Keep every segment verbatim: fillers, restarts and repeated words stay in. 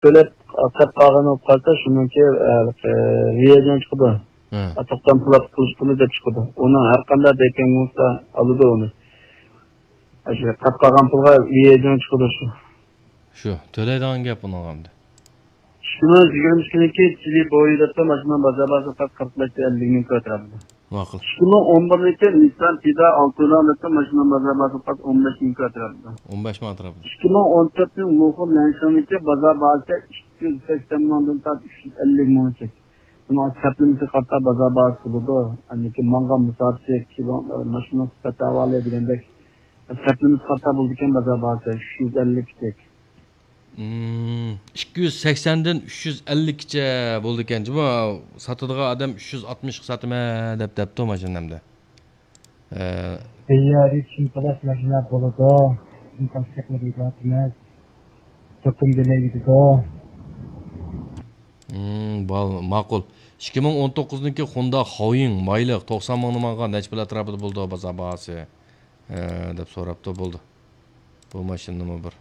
تۆلەپ قاپ قالغان بولۇپ قالسا، شۇنىڭكى ۋىيەجان چىقىدۇ. ھە. توختام پۇلات قىلىش پۇلى دەپ چىقىدۇ. ئۇنىڭ ھەر قانداق بەيكەڭ بولسا ئالىدۇ ئۇنى. شۇ قاپ قالغان پۇلغا ۋىيەجان چىقىدۇ شۇ. شۇ تۆلەيدىغان گەپ ئۇنىڭغا ئەمدى. ئىككى مىڭ يىگىرمە ئىككىنچى يىلى بويىدا ماشىنا بازار باھاسى پەقەت قىرىق بەش ئەللىك مىڭ كوي ئەتراپىدا. ماقۇل. ئىككى مىڭ ئون بىرىنچى نىسسان تىدا ئالتۇنان دەپتۇ ماشىنا بازار باھاسى پەقەت ئون بەش مىڭ كوي ئەتراپىدا. ئون بەش مىڭ ئەتراپىدا. ئىككى مىڭ ئون تۆتىنچى لۇخۇ لەنشىڭنىڭكى بازار باھاسى ئىككى يۈز سەكسەن مىڭدىن تارتىپ ئۈچ يۈز ئەللىك مىڭغىچە. بۇنىڭ سەپلىمىسى قاتتا بازار باھاسى بولىدۇ. ئەنكى ماڭغان مۇساپىسى، كىلو، ماشىنىنىڭ سۈپەت ئەھۋالى دېگەندەك سەپلىمىسى قاتتا بولىدىكەن بازار باھاسى ئۈچ يۈز ئەللىكتەك. مم، ئىككى يۈز سەكسەندىن ئۈچ يۈز ئەللىككىچە بولىدىكەن جۇمۇ. ساتىدىغان ئادەم ئۈچ يۈز ئاتمىشقا ساتىمەن دەپ دەپتۇ ماشىنا ئەمدى. ئە، بىر يەردە چىن پلاس ماشىنا بولىدۇ. چىن پلاس چەكلىرى ئېمەس. توكۇم دېمەي كېتىدۇ. مم، بال-، ماقۇل. ئىككى مىڭ ئون توققۇزنىڭكى خوندا خاۋيىڭ مايلىق توقسان مىڭنى ماڭغان نەچچە پۇل ئەتراپىدا بولىدۇ بازار باھاسى؟ ئە، دەپ سوراپتۇ. بولدى. بۇ ماشىنىنىمۇ بىر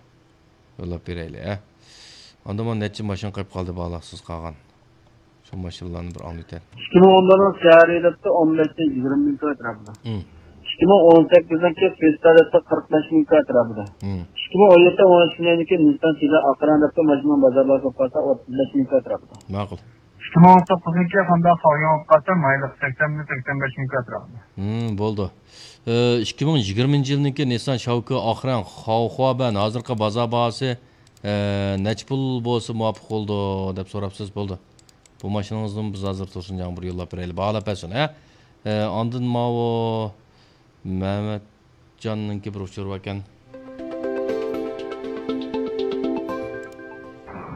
يوللاپ بېرەيلى، ھە. ئاندىن مانا نەچچە ماشىنا قېلىپ قالدى بالاقسىز قالغان. شۇ ماشىنىلارنى بىر ئاڭلىتەي. ئىككى مىڭ ئون بىرنىڭ سيارى دەپتۇ، ئون بەشتىن يىگىرمە مىڭ كوي ئەتراپىدا. مم. ئىككى مىڭ ئون سەككىزنىڭكى فېستا دەپتۇ، قىرىق بەش مىڭ كوي ئەتراپىدا. مم. ئىككى مىڭ ئون يەتتە، ئون ئۈچنىڭكى نىسسان سىدا ئاقران دەپتۇ، ماشىنىنىڭ بازار باھاسى بولۇپ قالسا ئوتتۇز بەش مىڭ كوي ئەتراپىدا. ماقۇل. ئىككى مىڭ ئون توققۇزنىڭكى خوندا خاۋيىڭ بولۇپ قالسا مايلىق سەكسەن مىڭ، سەكسەن بەش مىڭ كوي ئەتراپىدا. مم، بولدى. ئىككى مىڭ يىگىرمىنچى يىلنىڭكى نىسسان شاۋكى ئاقرەڭ خاۋخۇابەن ھازىرقى بازار باھاسى، ئە، نەچچە پۇل بولسا مۇۋاپىق بولىدۇ دەپ سوراپسىز، بولدى. بۇ ماشىنىڭىزنىمۇ بىز ھازىر تۇرسۇنجانغا بىر يوللاپ بېرەيلى، باھالاپ بەرسۇن، ھە. ئە، ئاندىن ماۋۇ مەمەتجاننىڭكى بىر ئۇچۇرى باركەن.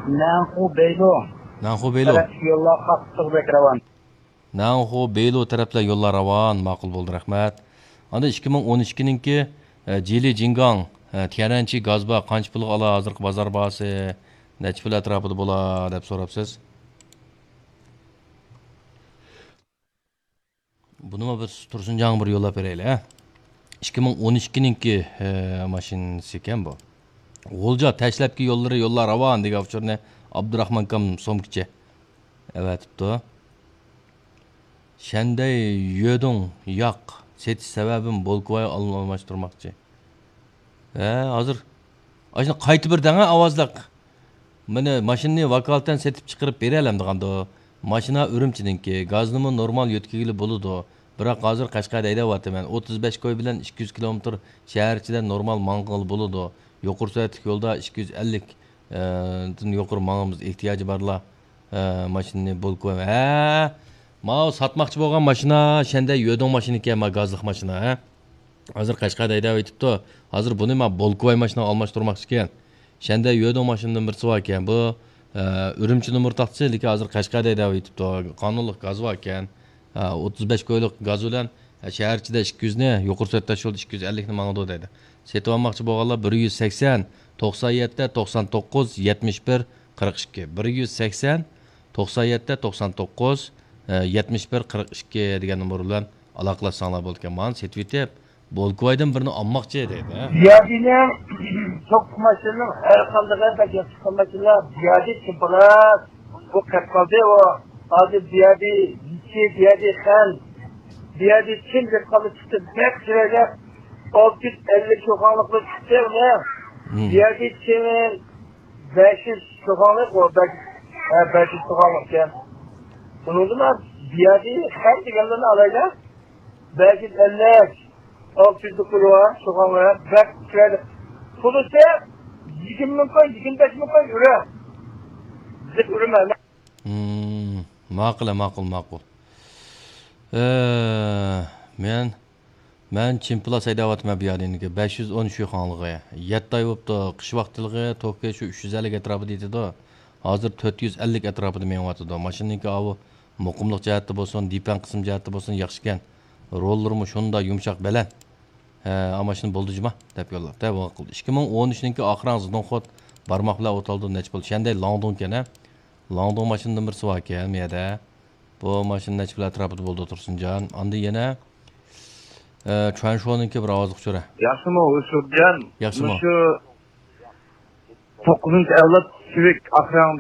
نەنخۇ بېيلۇ. نەنخۇ بېيلۇ. تەرەپ يوللار قاتتىق بەك راۋان. نەنخۇ بېيلۇ تەرەپلەر يوللار راۋان، ماقۇل بولدى، رەھمەت. ئاندىن ئىككى مىڭ ئون ئىككىنىڭكى، ئە، جىلى جىنگاڭ، ئە، تيەنئەنچى گاز بار، قانچە پۇلغا ئالا ھازىرقى بازار باھاسى، نەچچە پۇل ئەتراپىدا بولا دەپ سوراپسىز. بۇنىمۇ بىر تۇرسۇنجانغا بىر يوللاپ بېرەيلى، ھە. ئىككى مىڭ ئون ئىككىنىڭكى، ئە، ماشىنىسى ئىكەن بۇ. غۇلجا تاشلەپكى يوللىرى يوللار راۋان دېگەن ئۇچۇرنى ئابدۇراخمان ئاكام سومكىچى ئەۋەتىپتۇ. شەندەي يۆدۇڭ ياق سېتىش سەۋەبىم بولكىۋاي ئالماشتۇرماقچى. ھە، ھازىر. ئاشۇنى قايتا بىر دەڭە ئاۋازلىق. مانا ماشىنىنى ۋاكالىتەن سېتىپ چىقىرىپ بېرەلەمدىغاندۇ؟ ماشىنا ئۈرۈمچىنىڭكى، گازنىمۇ نورمال يۆتكىگىلى بولىدۇ. بىراق ھازىر قەشقەردە ھەيدەۋاتىمەن. ئوتتۇز بەش كوي بىلەن ئىككى يۈز كىلومېتىر شەھەر ئىچىدە نورمال ماڭغىلى بولىدۇ. يۇقىرى سۈرئەتلىك يولدا ئىككى يۈز ئەللىك، ئە، دىن يۇقىرى ماڭىمىز، ئېھتىياجى بارلار، ئە، ماشىنىنى بولكا، ھە، ماۋۇ ساتماقچى بولغان ماشىنا، شەندەي يۆدۇڭ ماشىنا ئىكەن، ما گازلىق ماشىنا، ھە. ھازىر قەشقەردە ھەيدەۋېتىپتۇ. ھازىر بۇنى ما بولكىۋاي ماشىنىغا ئالماشتۇرماقچىكەن. شەندەي يۆدوڭ ماشىنىدىن بىرسى باركەن. بۇ، ئە، ئۈرۈمچى نومۇر تاختىسى، لېكىن ھازىر قەشقەردە ھەيدەۋېتىپتۇ. قانۇنلۇق گاز باركەن. ئە، ئوتتۇز بەش كويلۇق گاز بىلەن، ئە، شەھەر ئىچىدە ئىككى يۈزنى، يۇقىرى سۈرئەت تاش يولدا ئىككى يۈز ئەللىكنى ماڭىدۇ دەيدۇ. سېتىۋالماقچى بولغانلار بىر يۈز سەكسەن، توقسان يەتتە، توقسان توققۇز، يەتمىش بىر، قىرىق ئىككى. بىر يۈز سەكسەن، توقسان يەتتە، توقسان توققۇز، ئە، يەتمىش بىر، قىرىق ئىككى دېگەن نومۇر بىلەن ئالاقىلاشساڭلار بولىدىكەن. مانا سېتىۋېتىپ، بولكىۋايدىن بىرنى ئالماقچى دەيدۇ، ھە؟ زىيادىنىڭ توققۇز ماشىنىنىڭ ھەر قاندىقى بەك ياخشى چىققان ماشىنىلار زىيادى چىقىپ قالدى. بۇ قەپ قالدى ئۇ. ھازىر زىيادى يېتى، زىيادى خەن، زىيادى چىن دەپ قالدى چىقتى. بەك چىرايلىق ئالتە يۈز ئەللىك شۇخاڭلىقلار چىقتى ئۇنى. مم. زىيادى چىن بەش يۈز شۇخاڭلىق ئۇ بەك، ھە، بەش يۈز شۇخاڭلىقكەن. بۇنىڭدىن زىيادى خەن دېگەنلەرنى ئالايلى. بەش يۈز ئەللىك، ئالتە يۈزلۈك پۇلى بار، شۇخاڭلىق بەك چىرايلىق. پۇلىسى يىگىرمە مىڭ كوي، يىگىرمە بەش مىڭ كوي ئۈرە. زىپ ئۈرمە. مم، ماقۇل، ماقۇل، ماقۇل. ئە، مەن، مەن چىن پلاس ھەيدەۋاتىمەن بۇ يەردىن بەش يۈز ئون شۇخاڭلىقى. يەتتە ئاي بوپتۇ، قىش ۋاقتىلىقى توكى شۇ ئۈچ يۈز ئەللىك ئەتراپىدا يېتىدۇ. ھازىر تۆت يۈز ئەللىك ئەتراپىدا مېڭىۋاتىدۇ. ماشىنىنىڭكى ئاۋۇ مۇقىملىق جەھەتتە بولسۇن، دىپەن قىسىم جەھەتتە بولسۇن ياخشىكەن. روللىرىمۇ شۇنداق يۇمشاق، بەلەن. ھە، ئا، ماشىنا بولدى جۇما دەپ يوللاپتۇ. ھە، بۇ قىلدى. ئىككى مىڭ ئون ئۈچنىڭكى ئاخىرىڭ زىدوڭخوت بارماق بىلەن ئوتالدۇ نەچچە بولدى؟ شەندەي لاڭدۇڭكەن، ھە؟ لاڭدۇڭ ماشىنىدىن بىرسى باركەن بۇ يەردە. بۇ ماشىنا نەچچە پۇل ئەتراپىدا بولىدۇ، تۇرسۇنجان؟ ئاندىن يەنە، ئە، چۈەنشۇنىڭكى بىر ئاۋازلىق چۆرە. ياخشىمۇ، ھۇشۇرجان؟ ياخشىمۇ؟ مۇشۇ توققۇزىنچى ئەۋلاد كىۋىك، ئاق رەڭ